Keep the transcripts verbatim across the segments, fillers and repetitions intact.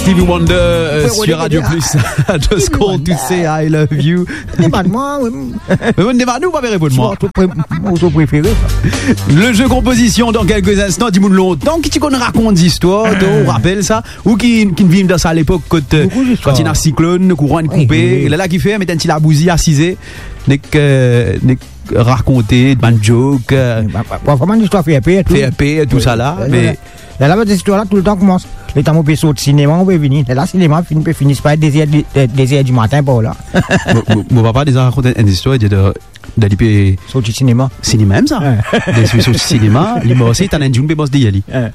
Stevie Wonder, euh, sur Radio Plus. I just called to say I love you. Demann mwa, wi. Me mwa, demann ou, pa reponn mwa. Ou to pre-, ou to prefere, sa. Le jeu composition dans quelques instants. Dimoun lontan ki ti konn rakont zistwar, to, ou rapel sa? Ou ki, ki viv dan sa lepok kot, euh, kan ti ena siklonn, kouran inn koupe, wi, wi, wi, lerla ki fer, met enn ti labouzi asize, nek, euh, nek rakonte bann joke, euh, ba, ba, ba, vremem zistwar fer per, tou. Fer per, tou sa la, wi, me wi. Lerla, bann zistwar la, toultan koumans. Letan mo pe sort sinema, mo pe vini. Lerla, sinema finn, pe fini, se pa de zer di, de, de zer dimatin, par la. Mo, mo, mo papa deza rakont enn zistwar, li dir, dan li pe sorti sinema. Sinema mem sa. Wi. Li pe sorti sinema, li marse, tann enn dimoun pe mars deryer li. Wi.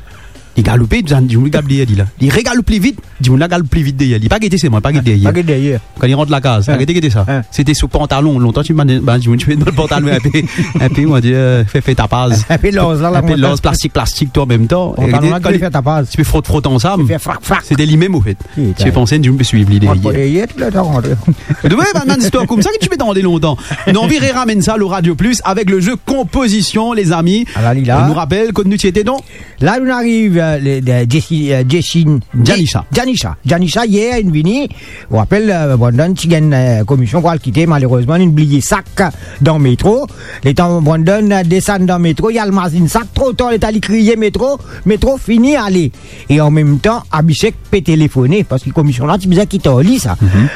Li galoupe, tann dimoun galoup deryer li la. Li regaloup pli vit, dimoun la galoup pli vit deryer li. Li pa gete sirman, li pa gete deryer. Pa gete deryer. Kan li rant lakaz, wi, gete, gete sa. Wi. Se te sou pantalon, lontan ti bann, bann dimoun ti met dan pantalon inpe, inpe, on va dire, euh, fer, fer tapaz. Inpe larz la, la, inpe larz, plastik, plastik, tou an mem tan. Pantalon la, ti pe fer tapaz. Ti pe frot, frot ansam. Ti pe fer frak, frak. Se te limem, anfet. Ti pe panse enn dimoun pe swiv li deryer. Wi, tou letan rantre. Wi, bann, bann zistwar koumsa ki ti pe tande lontan. Nou anvi re-ramenn sa lor Radio Plus avek le jeu composition, lezami. Ala li la. Nou rapel kot nou ti ete, donk. La, nou ariv, euh, le, de, Jessi-, euh, Jessin-, Janisha. Janisha. Janisha, yer, inn vini. Ou rapel, euh, Brandon ti gagn, euh, komisyon pou al kite, malerezman, inn bliye sak dan metro. Letan Brandon, euh, desann dan metro, li al mazinn sak tro tar, letan li kriye, "Metro, metro, fini, ale." E an mem tan, Abhishek pe telefone, parski komisyon la ti bizin kit ar li, sa. Mhm.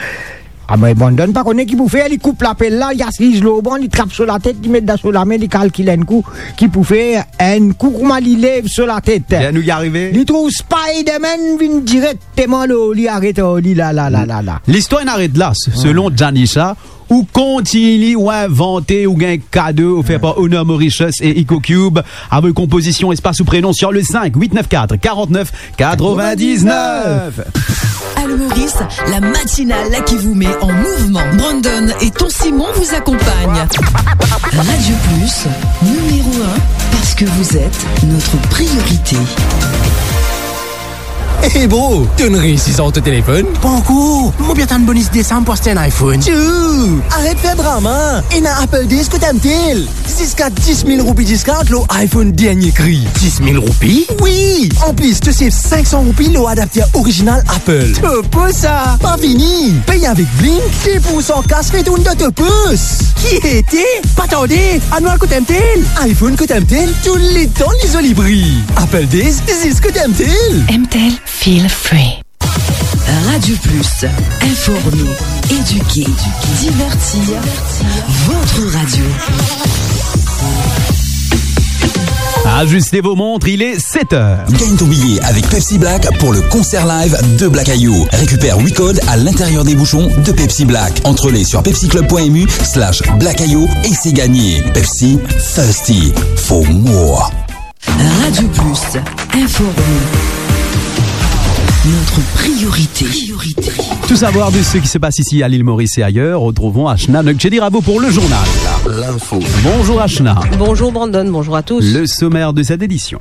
Ah, me Brandon pa kone ki pou fer, li koup lapel la, li asiz lor ban, li trap so latet, li met dan so lame, li kalkil enn kou ki pou fer, enn kou kouma li lev so latet. Ler nou arive, li trouv Spider-Man vinn direkteman lor li, aret ar li la, la, la, la, la. Listwar inn aret la, se-, selon Janisha, ou kontign ou invante, ou gagn kado ofer par Honor Mauritius e EcoCube. Avoy konpozision, espas ou prenon sur le cinq huit neuf quatre quarante-neuf quatre-vingt-dix-neuf. Allô Maurice, la matinale là qui vous met en mouvement. Brandon et Ton Simon vous accompagnent. Radio Plus, numéro un, parce que vous êtes notre priorité. Hey bro, to'nn reysi sort to telefonn? Pankor. Mo pe atann bonis desam pou aste enn iPhone. Tchou! Aret fer drama. Ena Apple Days kot M T L. Ziska dis mil roupi discount lor iPhone dernie kri. Dis mil roupi? Wi! Anplis, to save sink san roupi lor adapter original Apple. Top sa! Pa fini! Pey avek Blink, de poursan kas retourn dan to pos. Ki ete? Pa tarde, anou al kot M T L. iPhone kot M T L, touletan li zoli pri. Apple Days, zis kot M T L. M T L, feel free. Radio Plus, informer, éduquer, divertir, votre radio. Ajustez vos montres, il est sept heures. Gagne ton billet avec Pepsi Black pour le concert live de Black Ayo. Récupère huit codes à l'intérieur des bouchons de Pepsi Black. Entrée sur pepsiclub point M U slash Black Ayo et c'est gagné. Pepsi, thirsty for more. Radio Plus, informer. Notre priorité. Tout savoir de ce qui se passe ici à l'île Maurice et ailleurs, retrouvons Ashna Nokchedi Ravo pour le journal. L'info. Bonjour Ashna. Bonjour Brandon, bonjour à tous. Le sommaire de cette édition.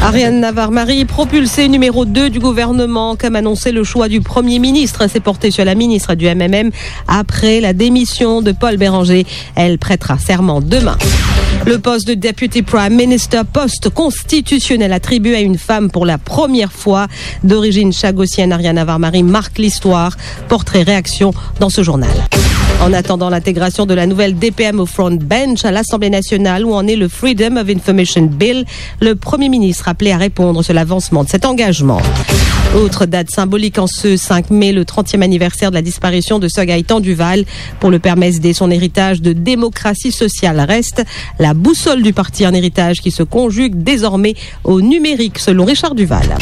Ariane Navarre-Marie propulsée numéro deux du gouvernement, comme annoncé, le choix du Premier ministre s'est porté sur la ministre du M M M après la démission de Paul Bérenger. Elle prêtera serment demain. Le poste de Deputy Prime Minister, poste constitutionnel attribué à une femme pour la première fois. D'origine chagossienne, Ariane Navarre-Marie marque l'histoire. Portrait réaction dans ce journal. En attendant l'intégration de la nouvelle D P M au front bench à l'Assemblée nationale, où en est le Freedom of Information Bill, le Premier ministre appelé à répondre sur l'avancement de cet engagement. Autre date symbolique en ce cinq mai, le trentième anniversaire de la disparition de Sir Gaëtan Duval. Pour le P M S D, son héritage de démocratie sociale reste la boussole du parti, un héritage qui se conjugue désormais au numérique, selon Richard Duval.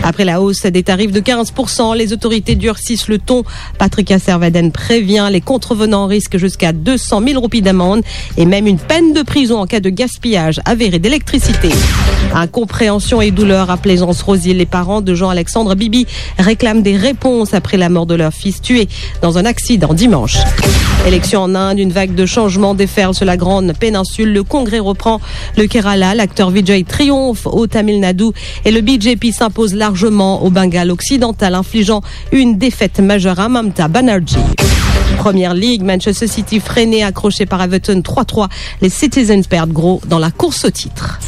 Après la hausse des tarifs de quinze pour cent, les autorités durcissent le ton. Patrick Asservadene prévient, les contrevenants risquent jusqu'à deux cent mille roupies d'amende et même une peine de prison en cas de gaspillage avéré d'électricité. Incompréhension et douleur à Plaisance-Rose-Île. Les parents de Jean-Alexandre Bibi réclament des réponses après la mort de leur fils tué dans un accident dimanche. Élection en Inde, une vague de changements déferle sur la grande péninsule. Le Congrès reprend le Kerala. L'acteur Vijay triomphe au Tamil Nadu et le B J P s'impose largement au Bengale occidental, infligeant une défaite majeure à Mamata Banerjee. Première Ligue, Manchester City freiné, accroché par Everton trois trois. Les Citizens perdent gros dans la course au titre.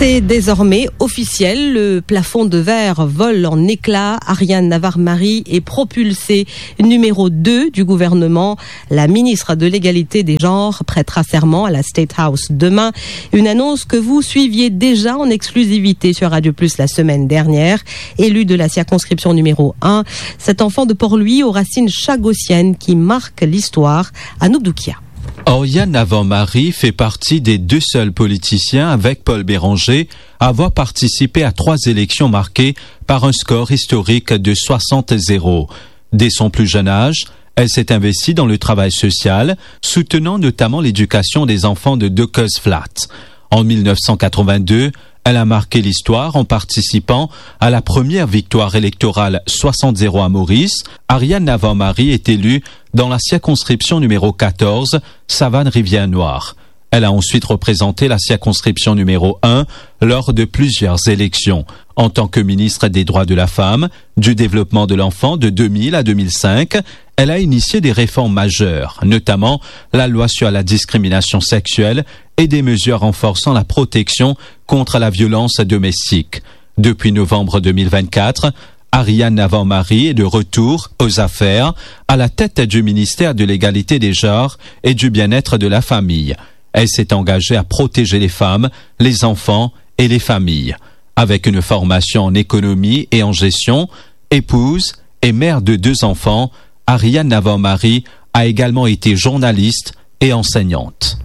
C'est désormais officiel, le plafond de verre vole en éclats. Ariane Navarre-Marie est propulsée numéro deux du gouvernement. La ministre de l'égalité des genres prêtera serment à la State House demain. Une annonce que vous suiviez déjà en exclusivité sur Radio Plus la semaine dernière. Élue de la circonscription numéro un, cet enfant de Port-Louis aux racines chagossiennes qui marque l'histoire, Anouk Doukia. Ariane Navarre-Marie fait partie des deux seuls politiciens, avec Paul Bérenger, à avoir participé à trois élections marquées par un score historique de soixante zéro. Dès son plus jeune âge, elle s'est investie dans le travail social, soutenant notamment l'éducation des enfants de Dockers Flat. En mille neuf cent quatre-vingt-deux, elle a marqué l'histoire en participant à la première victoire électorale soixante zéro à Maurice. Ariane Navarre-Marie est élue dans la circonscription numéro quatorze, Savane-Rivière-Noire. Elle a ensuite représenté la circonscription numéro un lors de plusieurs élections. En tant que ministre des Droits de la Femme, du Développement de l'Enfant de deux mille à deux mille cinq, elle a initié des réformes majeures, notamment la loi sur la discrimination sexuelle et des mesures renforçant la protection contre la violence domestique. Depuis novembre deux mille vingt-quatre, Ariane Navarre-Marie est de retour aux affaires, à la tête du ministère de l'Égalité des genres et du Bien-être de la famille. Elle s'est engagée à protéger les femmes, les enfants et les familles. Avec une formation en économie et en gestion, épouse et mère de deux enfants, Ariane Navarre-Marie a également été journaliste et enseignante.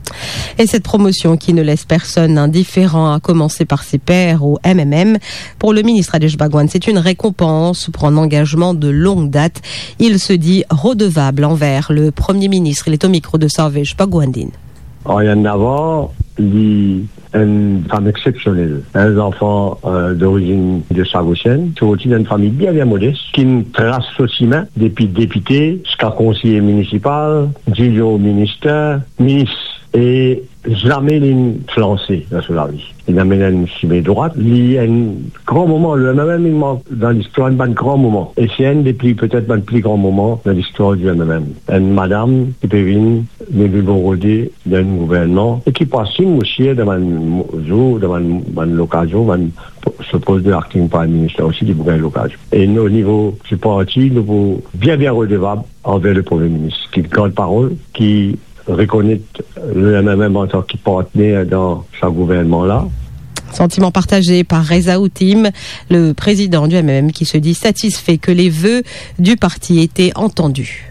Et cette promotion qui ne laisse personne indifférent, à commencer par ses pairs au M M M, pour le ministre Adesh Bhagwan, c'est une récompense pour un engagement de longue date. Il se dit redevable envers le Premier ministre. Il est au micro de Sarvesh Bhagwandin. Ariane Navarre, li enn fam exsepsionel, enn zanfan, euh, dorizinn de Sagosienn, sorti dan enn fami bien, bien modes, ki'nn tras so simin depi depite ziska konseye minisipal, dirio minister, minis, e zame li'nn flanse dan so lavi. Li'nn amenn enn simin drwat, li enn gran moman, le M M M, li mank dan listwar enn bann gran moman. E se enn de pli, petet bann pli gran moman dan listwar di M M M. Enn madam ki pe vinn, vinn bon kote dan enn gouvernman, e ki pou asim osi dan bann mo-, zour, dan bann, bann lokazion, bann po-, so post de acting prime minister osi, li pou gagn lokazion. E nou, o nivo di parti, nou pou bien, bien redevab anver le Premie Minis, ki gard parol, ki rekonet le M M M antan ki partner dan sa gouvernman la. Sentiment partagé par Reza Outim, le président du M M M, qui se dit satisfait que les vœux du parti étaient entendus.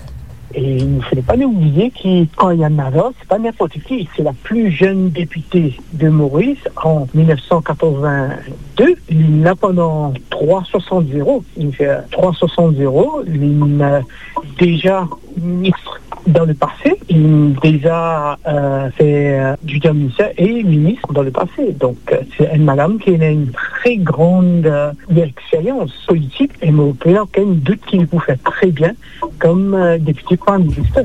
Et il ne faudrait pas nous oublier que Ariane Navarre, c'est pas n'importe qui, c'est la plus jeune députée de Maurice en mille neuf cent quatre-vingt-deux. Il l'a pendant trois soixante zéro. Il fait trois soixante zéro. Il a déjà ministre dans le passé, il a déjà, euh, fait, euh, du ministère et ministre dans le passé. Donc, euh, c'est une madame qui a une très grande, euh, expérience politique et mon aucun doute qu'il peut faire très bien comme, euh, député Premier ministre.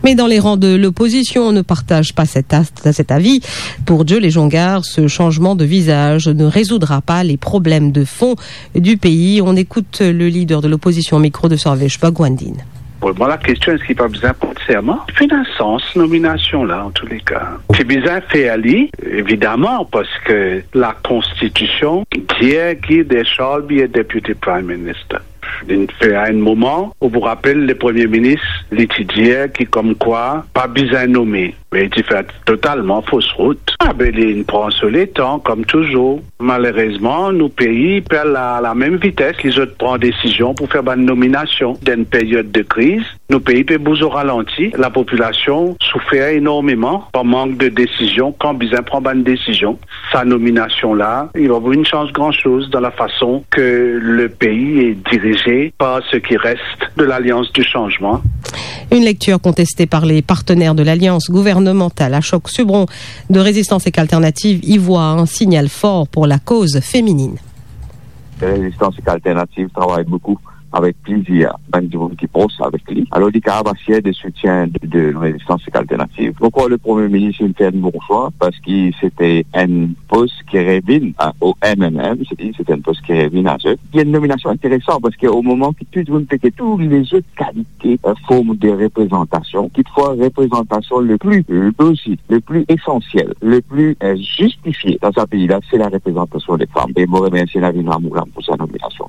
Mais dans les rangs de l'opposition, on ne partage pas cet as-, cet avis. Pour Joe Legendre, ce changement de visage ne résoudra pas les problèmes de fond du pays. On écoute le leader de l'opposition au micro de Sarvesh Bhagwandin. Bon, mwa, lakestion, eski pa bizin port serman? Finn enn sans nominasion la, an tou le ka. Ti bizin fer li, evidaman, parski lakonstitision dir ki there shall be a deputy prime minister. Li fer a enn moman, ou pou rapel, le Premie Minis, li ti dir ki komkwa pa bizin nome. Me li ti fer totalman fos rout. Ah ben, li pran so letan, kom touzour. Malerezman, nou pei pa al a lamem vites ki zot pran desizion pou fer bann nominasion. Dan enn period de kriz, nou pei pe bouz o ralanti, lapopilasion soufer enormeman par mank de desizion, kan bizin pran bann desizion. Sa nominasion la, li pa pou vinn sanz gran soz dan lafason ke le pei est dirigé par ce qui reste de l'Alliance du Changement. Une lecture contestée par les partenaires de l'alliance gouvernementale. Ashok Subron de Résistance Égalité Alternative y voit un signal fort pour la cause féminine. Résistance Égalité Alternative travaille beaucoup avek plizir bann dimoun ki pros avek li. Alor, li kapav asir de soutien de, de Rezistans Sek Alternativ. Ankor, le Premie Minis inn fer enn bon swa, parski se te enn pos ki revinn a, o M M M, se, se te enn pos ki revinn a zot. Li enn nominasion interesan, parski o moman ki tou dimoun pe get tou lezot kalite, euh, form de reprezantasion, kitfwa reprezantasion le pli lozik, le pli esansiel, le pli, euh, zistifie dan sa pei la, se la reprezantasion de fam. E mo remersie Navin Ramgoolam pou sa nominasion.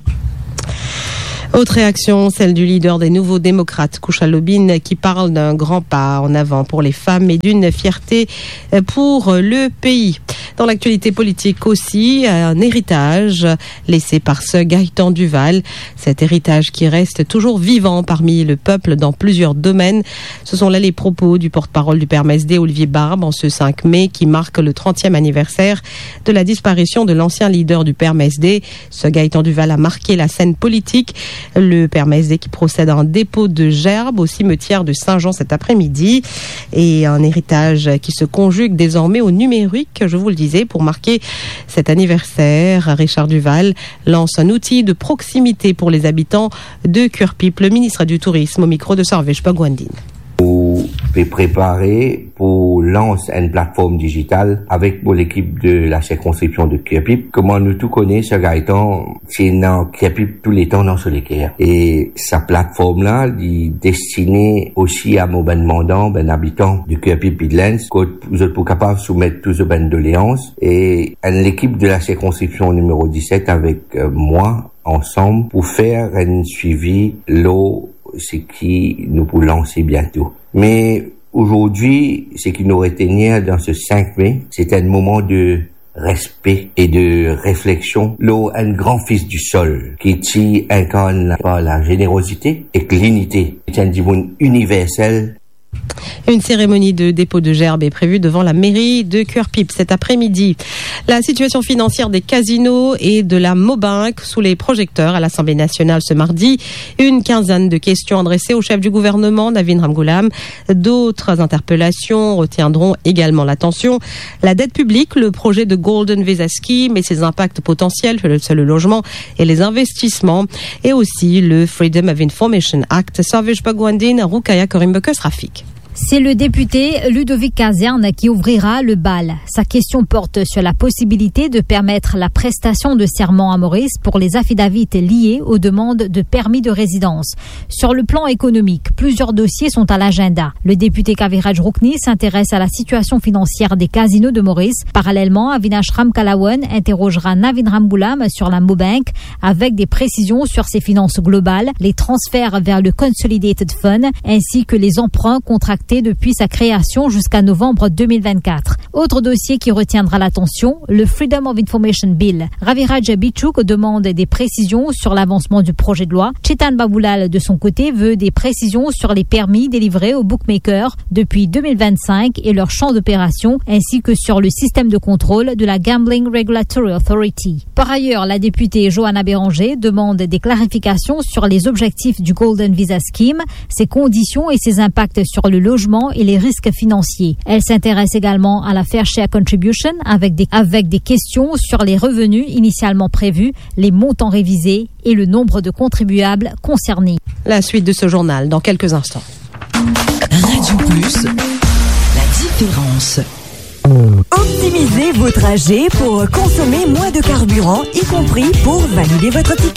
Autre réaction, celle du leader des Nouveaux Démocrates, Kushal Lobine, qui parle d'un grand pas en avant pour les femmes et d'une fierté, euh, pour le pays. Dans l'actualité politique aussi, un héritage laissé par Sir Gaëtan Duval. Cet héritage qui reste toujours vivant parmi le peuple dans plusieurs domaines. Ce sont là les propos du porte-parole du P M S D, Olivier Barbe, en ce cinq mai, qui marque le trentième anniversaire de la disparition de l'ancien leader du P M S D. Sir Gaëtan Duval a marqué la scène politique. Le P M S D qui procède à un dépôt de gerbe au cimetière de Saint-Jean cet après-midi. Et un héritage qui se conjugue désormais au numérique, je vous le disais, pour marquer cet anniversaire. Richard Duval lance un outil de proximité pour les habitants de Curepipe. Le ministre du Tourisme au micro de Sarvesh Bhagwandin. Pou pe prepare pou lans enn platform dizital avek mo lekip de la sirkonskripsion de Curepipe. Kouma nou tou kone, Sir Gaëtan, se ena Curepipe touletan dan so leker. E sa platform la, li destine osi a mo bann mandan, bann abitan de Curepipe Midlands, kot zot pou kapav soumet tou zot bann doleans. E enn lekip de la sirkonskripsion nimero diset avek, euh, mwa, ansam pou fer enn swivi lor seki nou pou lanse biento. Me azordi, seki nou retenir dan se cinq mai, se enn moman de respe e de refleksion lor enn gran fis di sol ki ti inkarn par la zenerozite ek linite. Li ti enn dimoun iniversel. Une cérémonie de dépôt de gerbe est prévue devant la mairie de Curepipe cet après-midi. La situation financière des casinos et de la Mobank sous les projecteurs à l'Assemblée nationale ce mardi. Une quinzaine de questions adressées au chef du gouvernement, Navin Ramgoolam. D'autres interpellations retiendront également l'attention. La dette publique, le projet de Golden Visa Scheme et ses impacts potentiels sur le, sur le logement et les investissements, et aussi le Freedom of Information Act. Sarvesh Bhagwandin, Roukaya Korimbokas, Rafik. C'est le député Ludovic Kazerne qui ouvrira le bal. Sa question porte sur la possibilité de permettre la prestation de serment à Maurice pour les affidavits liés aux demandes de permis de résidence. Sur le plan économique, plusieurs dossiers sont à l'agenda. Le député Kaviraj Rukni s'intéresse à la situation financière des casinos de Maurice. Parallèlement, Avinash Ramkalawan interrogera Navin Ramgoolam sur la Mobank, avec des précisions sur ses finances globales, les transferts vers le Consolidated Fund, ainsi que les emprunts contractés depuis sa création jusqu'à novembre deux mille vingt-quatre. Autre dossier qui retiendra l'attention, le Freedom of Information Bill. Raviraj Bichuk demande des précisions sur l'avancement du projet de loi. Chetan Babulal, de son côté, veut des précisions sur les permis délivrés aux bookmakers depuis deux mille vingt-cinq et leur champ d'opération, ainsi que sur le système de contrôle de la Gambling Regulatory Authority. Par ailleurs, la députée Johanna Béranger demande des clarifications sur les objectifs du Golden Visa Scheme, ses conditions et ses impacts sur le logement et les risques financiers. Elle s'intéresse également à la Fair Share Contribution avec des, avec des questions sur les revenus initialement prévus, les montants révisés et le nombre de contribuables concernés. La suite de ce journal dans quelques instants. Radio Plus, la différence. Optimisez vos trajets pour consommer moins de carburant, y compris pour valider votre ticket.